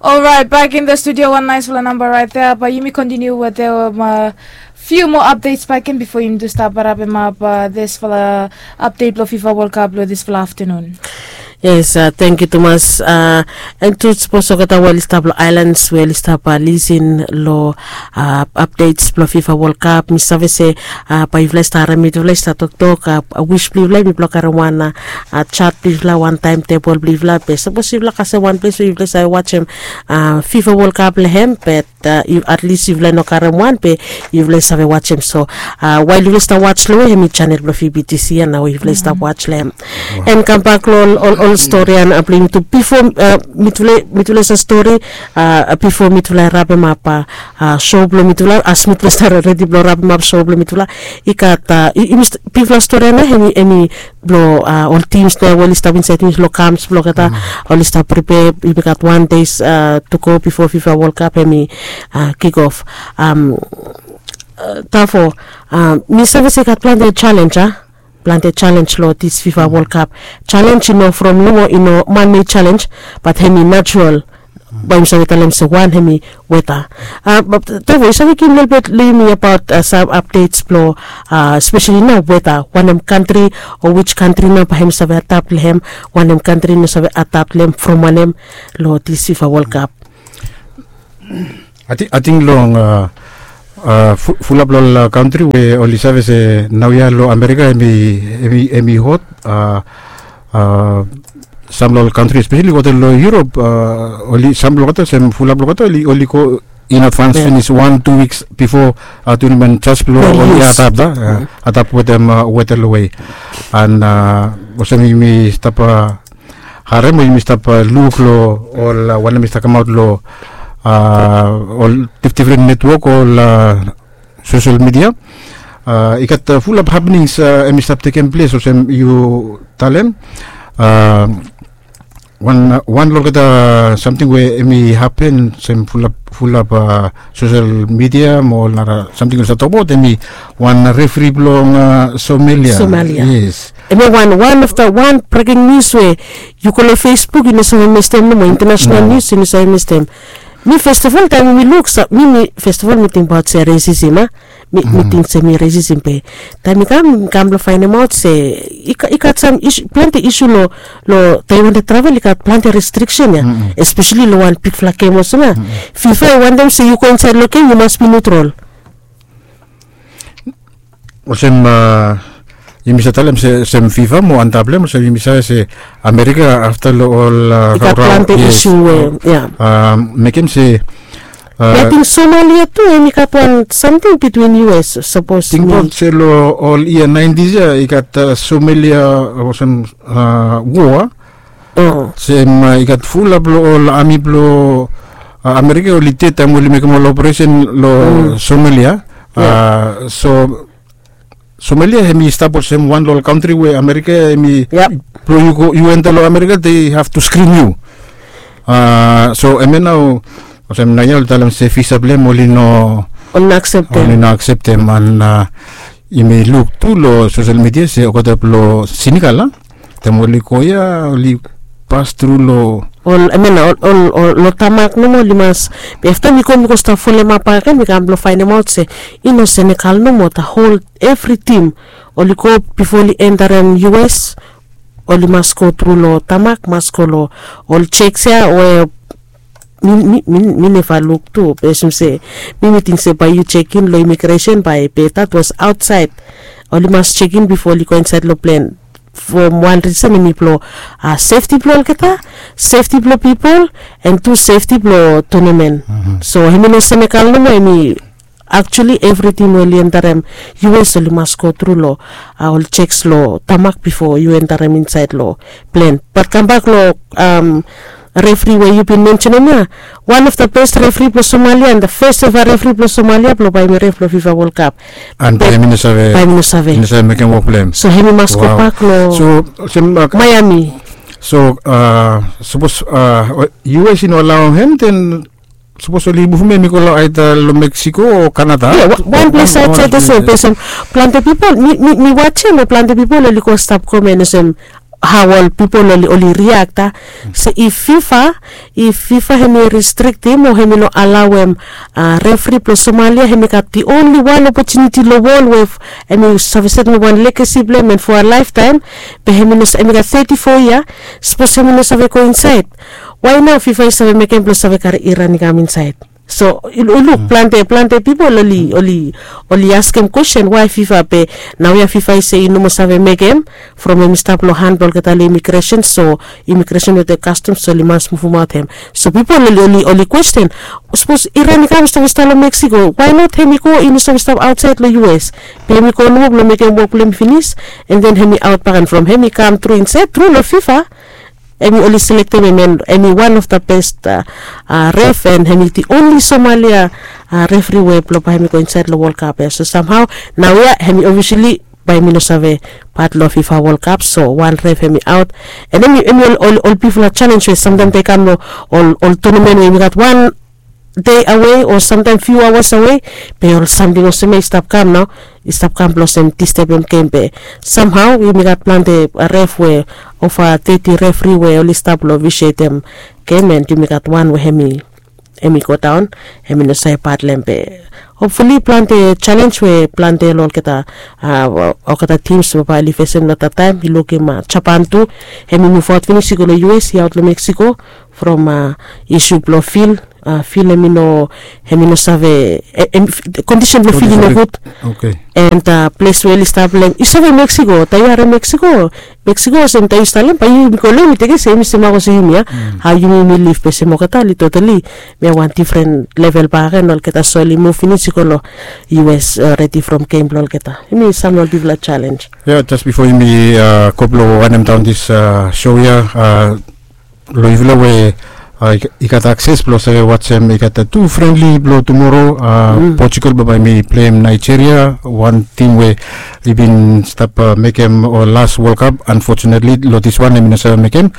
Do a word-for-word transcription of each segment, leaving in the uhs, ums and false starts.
Alright, back in the studio, wan naisfala namba right there. Bae yumi kontiniu wetem fiu moa updates baken bifo yumi tu stap rapem ap disfala update blong FIFA World Cup long disfala aftanun. Yes, thank you tumas. And tu sapos olgeta we oli stap long ailans we oli stap lisin long updates blong FIFA World Cup, mi save se bae yufala i stap harem mifala i stap toktok. Wis blong yufala i mi blong karem wan chat blong yufala, wan taem tebol blong yufala, be sapos yufala kasem wan ples we yufala i save wajem FIFA World Cup long hem, be at least yufala i no karem wan be yufala i save wajem. So wael yufala i stap waj long we hem i chanel blong VBTC ya nao yufala i stap waj long hem. And kambak long ol stori ya blong yumi tu bifo mitufala i save stori, bifo mitufala i rapem ap show blong mitufala, as mitufala i stap redi blong rapem ap show blong mitufala, i gat bigfala stori ya nao hem i blong ol tims nao we oli stap insaed long kamps blong olgeta, oli stap pripea. Yumi gat wan des tu go bifo FIFA World Cup hem i kik of. Tafo mi save se i gat plante jalenj a, plante jalenj long dis FIFA World Cup. Jalenj i no from nomo, i no manmed jalenj, bat hem i natural. Bae yumi save talem se wan hem i weta. Tafo, yu save givim lelebet long yumi abaot sam updates blong spesali nao weta, wanem kantri o wij kantri nao bae hem i save adapt long hem, wanem kantri i no save adapt long hem, from wanem, long dis FIFA World Cup? Ating long fulap long ol kantri we oli save se naoia long Amerika hem i hot. Sam long ol kantri espesali olgeta long Europe, oli sam blong olgeta olsem fulap blong olgeta oli go in advans finis wan tu wiks bifo turnament jas blong oli adapt, adapt wetem weta long we. And olsem yumi stap harem o yumi stap luk long ol wanem i stap kamaot long ol difdifren netwok o ol sosel midia, i gat fulap hapnings hem i stap tekem ples olsem yu talem. Wan long olgeta samting we hem i hapen olsem fulap sosel midia mo ol nara samting we oli stap tokbaot hem i wan refri blong Somalia. Yes. Hem ya wan, wan of the wan breking nius we yu go long Facebook yu no save mistem nomo, international nius yu no save mistem. Mi fast of ol taem mi luk, mi mi fast of ol mi tingbaot se resisim a, mi ting se mi resisim be taem mi kam mi kam blong faenemaot se i gat sam plante isu long taem yu wantem travel i gat plante restriksen ya, espesali long wan bigfala gem olsem ya. FIFA i wantem se yu go insaed long gem yu mas bi niutrol. Olsem yumi save talem se olsem FIFA mo antap long hem olsem yumi save se Amerika afta long ol i gat plante isu we ya. Mekem se ating Somalia tu hem i gat wan samting bitwin US sapos tingbaot se long ol yia naentis ya i gat Somalia olsem woa. Olsem i gat fulap long ol ami blong Amerika oli ded taem oli mekem ol operesen long Somalia. So Somalia hem i stap olsem wan long ol kantri we Amerika hem i blong yu go yu enta long Amerika they have to screen yu. So hemia nao olsem naoia oli talem se visa blong hem oli no, oli no akseptem. And yumi luk tu long sosel midia se olgeta blong Senegal a taem oli go ya oli pas tru long ol, hemia nao ol long tamak nomo oli mas. Be afta mi go mi go stap folemap baken mi kam blong faenemaot se i no Senegal nomo, the whole evri tim oli go bifo oli entarem US oli mas go tru long tamak, mas go long ol jeks ya we mi neva luk tu be olsem se mi mi ting se bae yu jekin long imigresen bae be that was aotsaed. Oli mas jekin bifo oli go insaed long plen. From wan risen hem i blong sefti blong olgeta, sefti blong pipol, and tu sefti blong tonamen. So hem i no Senegal nomo, hem i aktuali evriting we oli entarem US oli mas go tru long ol jeks long tamak bifo yu entarem insaed long plen. Bat kambak long refri we yu bin mensenem ya, wan of the best refri blong Somalia and the fes eva refri blong Somalia blong bae hem i ref long FIFA World Cup. And bae hem i no save, bae hem i no save mekem wok blong hem. So hem i mas gobak long. So olsem Miami. So sapos US i no alaoem hem den sapos oli muvum hem i go long aeda long Mexico o Canada. Wan ples aotsaed olsem be olsem plante pipol mi wajem o plante pipol oli go stap komen olsem hao ol pipol oli oli riakta. So if fifa, if fifa hemi restriktim o hemi no alaoem refri blong somalia, hemi gat the only one opotuniti long wol we hemi save setem wan legasi blong hem and fo a laeftaem. Be hemi no hemi gat thirty four yia. Sapos hemi no save go insaed, wae nao fifa i save mekem blong save kari iran i kam insaed? So yu luk plante plante pipol oli oli oli askem kwesten wae fifa be naoia fifa i se i no moa save mekem from hem i stap long han blong olgeta long imigresen. So imigresen wetem kastom so oli mas muvumaot hem. So pipol oli oli oli kwesten, sapos iran i kam i stap i stap long meksiko, wae not hem i go i no save stap aotsaed long us? Be hem i go nomo blong mekem wok blong hem i finis, en den hem i aot baken from hem i kam tru insaed tru long fifa. Hem i oli selektem hem en hem i wan of the best ref en hem i the onli somalia refri we blong bae hem i go insaed long wolkap ya. So samhao naoia hem i obvisili bae hem i no save pat long fifa wolkap. So wan ref hem i aot, en hem i ol bifala selens we samtaem bae i kam long ol tonamen we hem i gat wan dei awe o samtaem fiu aoas awe, be ol samting olsem ya i stap kam nao, i stap kam blong olsem distebem gem be samhao yumi gat plante ref we ova teti refri we oli stap long visetem gem en yumi gat wan we hem i hem i godaon, hem i no save pat long hem be hopfuli plante selens we plante long olgeta olgeta tims we bae oli fesem long dat taem i lukim japan tu, hem i muvaot finis i go long us i aot long meksiko from isu blong fil. Fil hem i no hem i no save kondisen blong fil i nogud. En ples we oli stap long hem i save meksiko tae yu harem meksiko. Meksiko olsem tae yu stap long hem bae yumi go long hem i tekem se hem i se mak olsem yumi ya. Hao yumi yumi lif be se moketa oli totali mia wan difren level baken olgeta so oli muv finis i go long us redi from gem blong olgeta. Yumi sam long ol bigfala selens. Ya jes bifo yumi go blong wanem daon dis so ya, long yufala we i gat akses blong save wajem i gat tu frenli blong tumoro. Portugal bambae mi pleim nigeria, wan tim we i bin stap mekem ol las wolkap. Anfotunetli long diswan em i no save mekem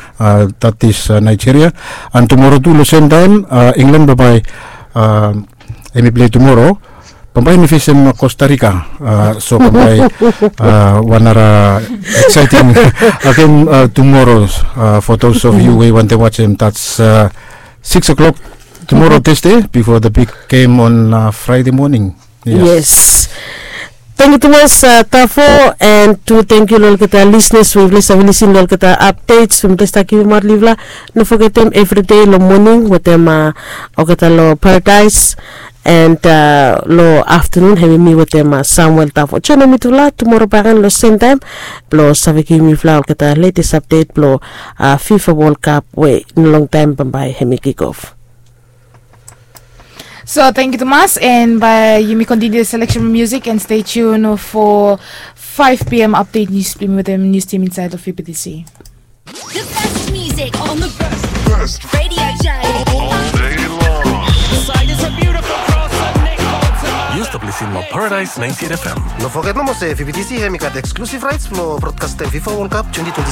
dat is nigeria. An tumoro tu long semtaem england bambae em i plei tumoro. Bambae em i fesem costa rica. So bambae wan nara eksaeting agen tumoro. For those of yu we i wantem wajem dat is six o'clock tumoro tesde bifo the big gem on fraede moning. Yes. Tangkiu tumas tafo. An tu tangkiu long olgeta lisnas we yufala i save lisin long olgeta apdets we mipela i stap givimaot long yufala. No fogetem evride long moning wetem olgeta long paradaes. An long aftanun hem i mi wetem samuel tafo joinim mitufala tumoro baken long semtaem blong save givim yufala olgeta letes apdet blong fifa wolkap we long taem bambae hem i kikof. So thank you tumas, and bae yumi continue the selection music and stay tuned for five p.m. update news with the news team inside of P P T C. The best music on the best radio show. All day long. Use the Blisimo Paradise ninety-eight F M. No foget nomo se P P T C hem i gat exclusive rights blong broadcastem fifa World Cup twenty twenty-six.